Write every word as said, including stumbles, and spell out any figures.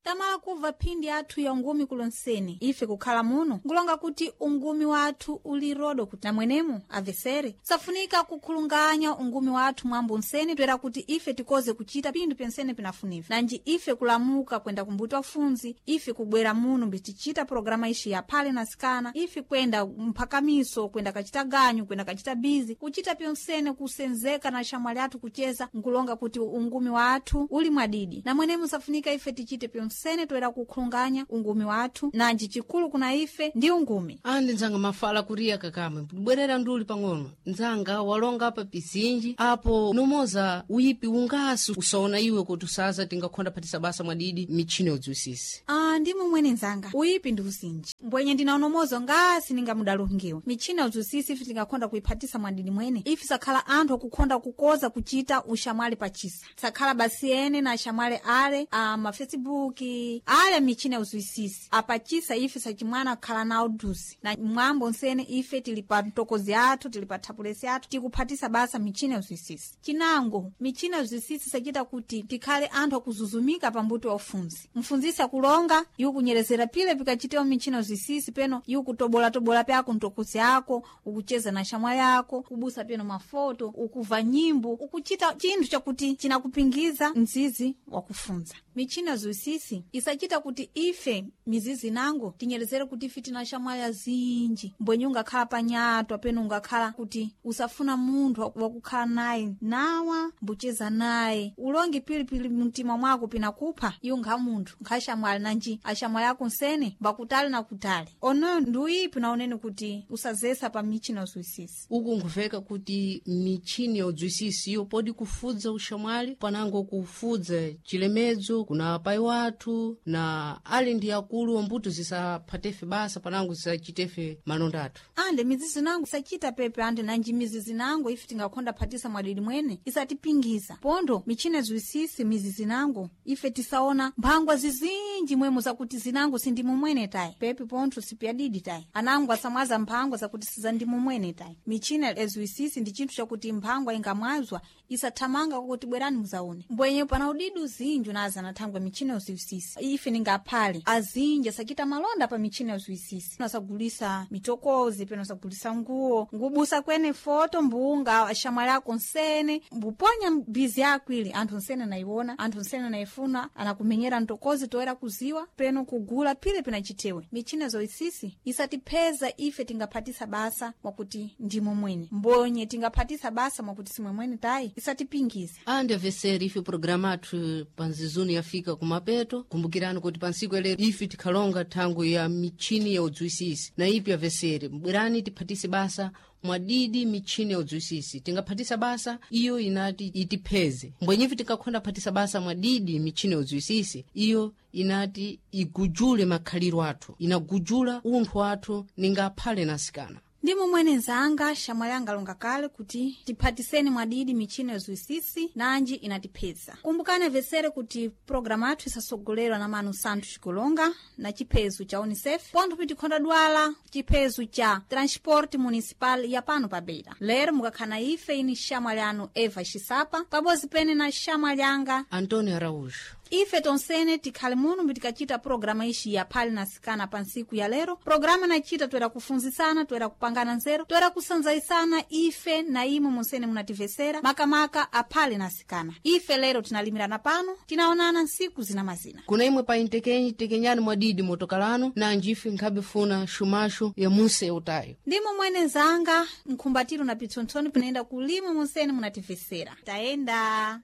Tamala kubva phindi athu ya ungumi kulonseni ife kukhala muno nkulonga kuti ungumi wathu uli rodo kuti namwenemo avesere safunika kukhulunganya ungumi wathu mwambo nsene toera kuti ife tikoze kuchita pinthu pensene pinafuniva nanji ife kulamuka kwenda kumbuti wafunzi ife kubwera muno mbitichita programa ishi ya phale na sikana ife kwenda mphakamiso kwenda kachita ganyu kwenda kachita bizi kuchita pyonsene kusenzeka na shamwali athu kucheza nkulonga kuti ungumi wathu uli mwadidi namwenemo safunika ife tichite pyonsene toera kukhulunganya ungumi wathu nanji chikulu kuna ife ndi ungumi. Andi nzanga mafala kuriya kakamwe bwerera nduli pang'ono nzanga walonga apa pizinji apo nomoza uyipi ungasi usaona iwe kuti usaza tingakhonda phatisa basa mwadidi michini yodziwisisi. Ah, ndi mumwene nzanga uyipi ndi uzinji mbwenye ndinaonomozo ngasi ningamudalungiwe michina uzwisisi ife tingakhonda kuiphatisa mwadidi mwene ife sakhala anthu akukhonda kukoza kuchita ushamwali pachisa sakhala basi ene na ashamwali ale a mafacebook ale michina uzwisisi apachisa ife sachimwana khala nawo duzi na mwambo nsene ife tili pa mtokozi athu tili pa thapulesi athu tikuphatisa basa michina uzwisisi. Chinango michina uzwisisi sachita kuti tikhale anthu akuzuzumika pambuti wa ufunzi mfunzisi akulonga iwo kunyerezera pile pikachitewo michina uzwisisi peno iwo kutobolatobola pyako mtokozi ako ukucheza na shamwali ako kubusa peno mafoto ukuva nyimbo ukuchita chinthu chakuti chinakupingiza mzizi wakufunza. Michina zwisisi isachita kuti ife mizizi nango tinyerezere kuti ife tina shamwali azinji mbwenye ungakhala panyatwa peno ungakhala kuti usafuna munthu wakukhala naye nawa mbucheza naye ulonge pilipili mtima mwako pinakupha iwo nkha munthu nkha shamwali nanji ashamwali ako nsene mbakutali na kutali onoyo ndi uyipi naonene kuti usazesa pa michina zwisisi. Uku nkuveka kuti michini yodziwisisi iyo podi kufudza ushamwali panango kufudza chilemedzo kuna pai wathu na ali ndi akulu ombuto zisaphatefe basa panango zisachitefe malonda athu. Ande mizizi nango isachita pepe ande nanji mizizi nango ife tingakhonda phatisa mwadidi mwene isatipingiza pondo michina zwisisi mizizi nango ife tisaona mphangwa zizinji mwemo zakuti zinango sindimumwene tayi pepe pontho sipyadidi tayi anango asamwaza mphangwa zakuti sizandimumwene tayi. Michina ezwisisi ndi chinthu chakuti mphangwa ingamwazwa isathamanga kwakuti bwerani muzaone mbwenye pana udidi uzinji unaza nathangwa michina uzwisisi ife ningaphale azinji asachita malonda pa michina uzwisisi asagulisa mitokozi peno asagulisa nguwo ngubusa kwene foto mbunga ashamwali ako nsene mbuponya bizi yako ili anthu nsene naiwona anthu nsene naifuna anakumenyera mtokozi toera kuziwa peno kugula pile pinachitewe. Michina zoisisi isatipheza ife tingaphatisa basa mwakuti ndimo mwene mbonye tingaphatisa basa mwakuti simwe mwene tayi isatipingiza. Andi aveseri ife programa athu panzizuni yafika kumapeto kumbukirani kuti pansiku yalero ife tikhalonga thango ya michini ya udziwisisi na ipi aveseri mbwerani tiphatise basa mwadidi michini ya udziwisisi tingaphatisa basa iyo inati itipheze mbwenyivi tingakhonda phatisa basa mwadidi michini ya udziwisisi iyo inati igujule makhaliro athu inagujula unthu wathu ningaphale nasikana. Ndi momwene nzanga shamwali anga longa kale kuti tiphatiseni mwadidi michina yozwisisi nanji inatipheza. Kumbukani avesere kuti programu athu isasogolerwa na Manu Santu Xikulonga na chiphezu cha UNICEF pontho pitikhonda dwala chiphezu cha Transport Municipal ya pano pa Beira. Lero mukakhala ife ini shamwali anu Eva Xisapa pabodzi pene na shamwali anga Antonio Araújo. Ife tonsene tikhale muno mbitikachita programa ishi ya phali na sikana pa ntsiku ya lero. Programa nachita toera kufunzisana toera kupangana nzeru toera kusanzaisana ife na imwe munsene munativesera makamaka aphale na sikana. Ife lero tinalimirana pano tinaonana ntsiku zina mazina. Kuna imwe pa intekenyi tekenyani mwadidi motokalano nanji ife nkhabe funa xumaxo ya munse utayo. Ndimo mwene nzanga nkhumbatiro na pitsontsoni pinaenda kulima munsene munativesera tayenda.